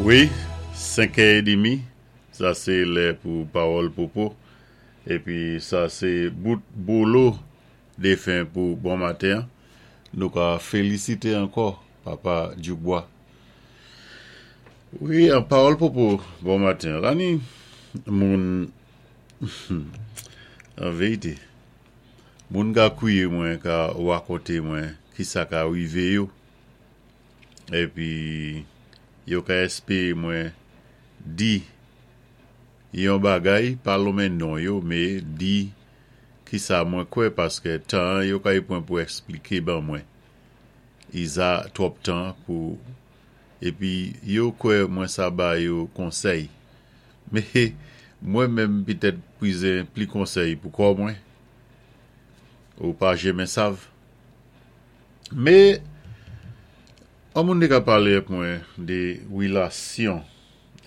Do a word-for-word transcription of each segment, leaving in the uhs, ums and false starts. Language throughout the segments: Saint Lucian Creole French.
Wi, senkè é demi, sa sé lè pou Pawòl Popo. Épi sa sé bout bolo défen pou bon maten. Nou ka félisité ankò Papa Dubois. Wi, an Pawòl Popo, bon maten. La ni moun, an vérité, moun ka kwiyé mwen, ka wakonté mwen ki sa ka wivé yo. Épi yo ka èspéré mwen di yon bagay, pa lonmen non yo, mé di ki sa mwen kwè paské tan yo kay pwan pou èspliké ban mwen. I za twòp tan pou épi yo kwè mwen sa ba yo konsèy. Mé mwen menm pitèt pwizé pli konsèy pou kò mwen. Ou pa jenmen sav. Mé an moun té ka palé ak mwen de wilasyon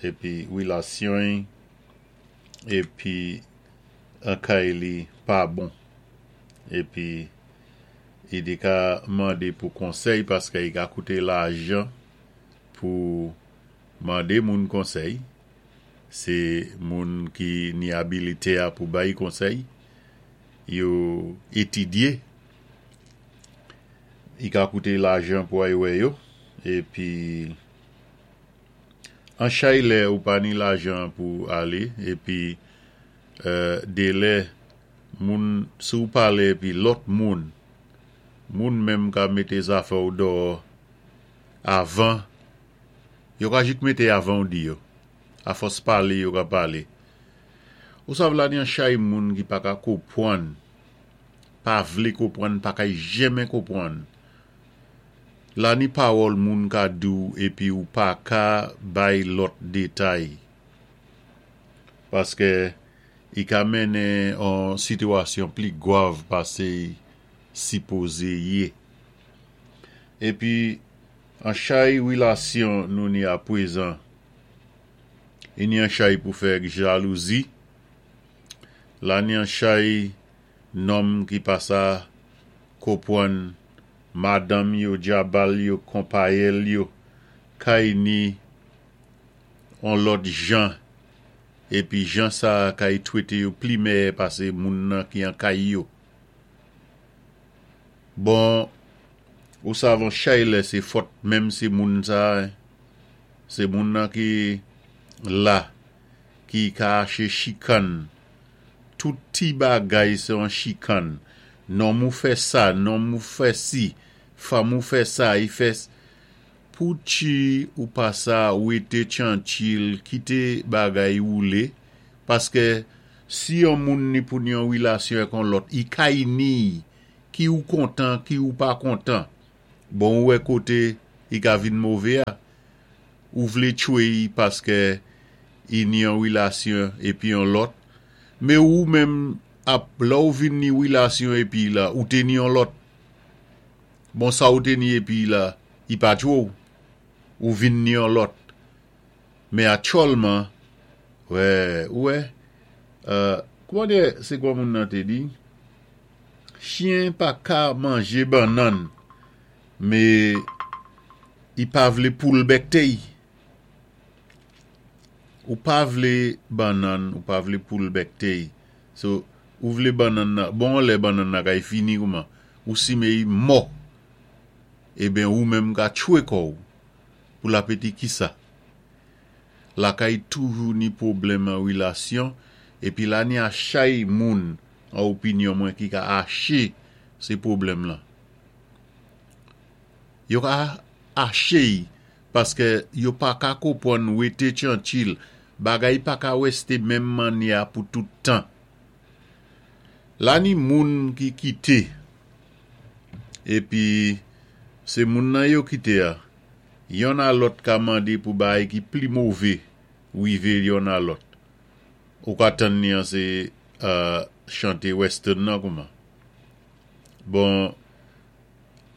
épi wilasyon épi an kay li pa bon. Épi i té ka mandé pou konsèy paské i ka kouté lajan pou mandé moun konsèy. Sé moun ki ni abilité a pou bay konsèy. Yo étidyé. I ka kouté lajan pou ay wè yo. Épi an chay lè ou pa ni lajan pou alé. Épi euh, dé lè moun si ou palé épi lòt moun, moun menm ka mété zafè ou déyò avan, yo ka jis mété avan ou di yo. A fòs palé yo ka palé. Ou sav la ni an chay moun ki pa ka konpwann, pa vlé konpwann, pa kay jenmen konpwann. La ni pawòl moun ka di ou épi ou pa ka bay lòt détay. Paské i ka mennen an sitiyasyon pli gwav pasé sipozé yé. Épi an chay wilasyon nou ni apwézan, i ni an chay pou fè jalouzi, la ni an chay nonm ki pa sa konpwann madanm yo, djabal yo, konpayèl yo, kay ni an lòt jan, épi jan sa kay twété yo pli mèyè pasé moun nan ki an kay yo. Bon, ou sav an chay lè sé fòt menm si moun sa, sé moun nan ki la, ki ka aché chikann. Tout ti bagay sé an chikann. Nonm ou fè sa, nonm ou fè si, fanm ou fè sa, i fè pou ti ou pa sa wété tyanchil, kité bagay woulé, paské si yon moun ni pou ni yon wilasyon ak on lòt, i kay ni, ki ou kontan, ki ou pa kontan. Bon, ou wè koté i ka vin mové a, ou vlé tchwé i paské i ni yon wilasyon épi yon lòt, mé ou menm ap la ou vin ni wilasyon épi la, ou té ni yon lòt. Bon, sa ou té ni épi la, i pa tchwé ou, ou vin ni yon lòt. Mé aktyèlman, wè, wè, euh, kouman dé, sé kwa moun nan té di? Chyen pa ka manjé bannann, mé i pa vlé poul bèkté i. Ou pa vlé bannann, ou pa vlé poul bèkté i. So, ou vlé bannann nan, bon lè bannann nan kay fini kouman, ou simen i mò, eben ou menm ka tchwé kò ou, pou la péti ki sa. Lakay toujou ni pwoblèm an wilasyon, épi la ni a chay moun, an opinyon mwen ki ka aché sé pwoblèm lan. Yo ka aché i, paské yo pa ka konpwann wété tyanchil, bagay pa ka wèsté menm mannyè pou tout tan. La ni moun ki kité, épi sé moun nan yo kité a, yonn a lòt ka mandé pou bagay ki pli mové wivé yonn a lòt. Ou ka tann ni an sé euh, chanté western nan kouman. Bon,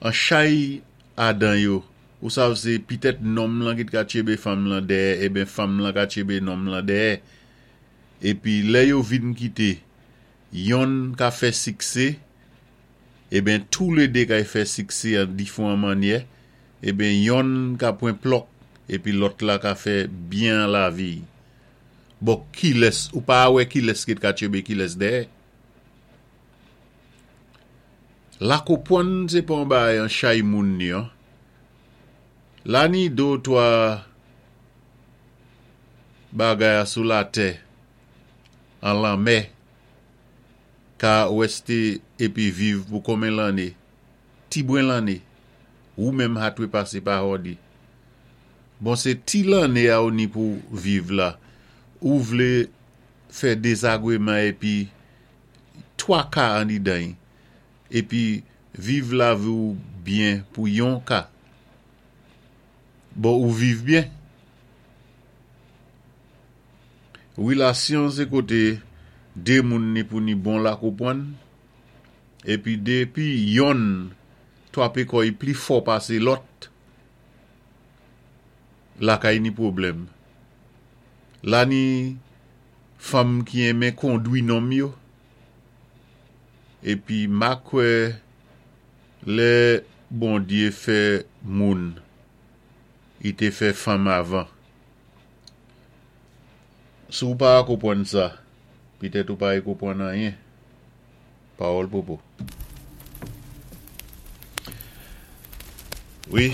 an chay adan yo, ou sav sé pitèt nonm lan ki ka tchébé fanm lan dèyè, eben fanm lan ka tchébé nonm lan dèyè. Épi lè yo vin kité, yonn ka fè siksé, eben tou lé dé kay fè siksé an difwan mannyè, eben yonn ka pwan plòk, Épi lòt la ka fè byen an lavi. Bon, kilès, ou pa wè kilès ki ka tchébé kilès dèyè. Lakonpwann sé pa yon bagay an chay moun ni an. La ni dé ou twa bagay sou latè an lanmè ka wèsté épi viv pou konmen lanné, ti bwen lanné, ou menm ha dwé pasé pa hòdi. Bon sé ti lanné a ou ni pou viv la, ou vlé fè dézagwéman épi twa ka annidan-y, épi viv lavi ou byen pou yon ka. Bon ou viv byen. Wilasyon sé koté dé moun ni pou ni bon lakonpwann, épi dépi yonn twapé kò'y pli fò pasé lòt, lakay ni pwoblèm. La ni fanm ki enmen kondwi nonm yo, épi ma kwè lè Bondyé fè moun, i té fè fanm avan. Si ou pa konpwann sa, pitèt ou pa konpwann anyen. Pawòl popo. Wi.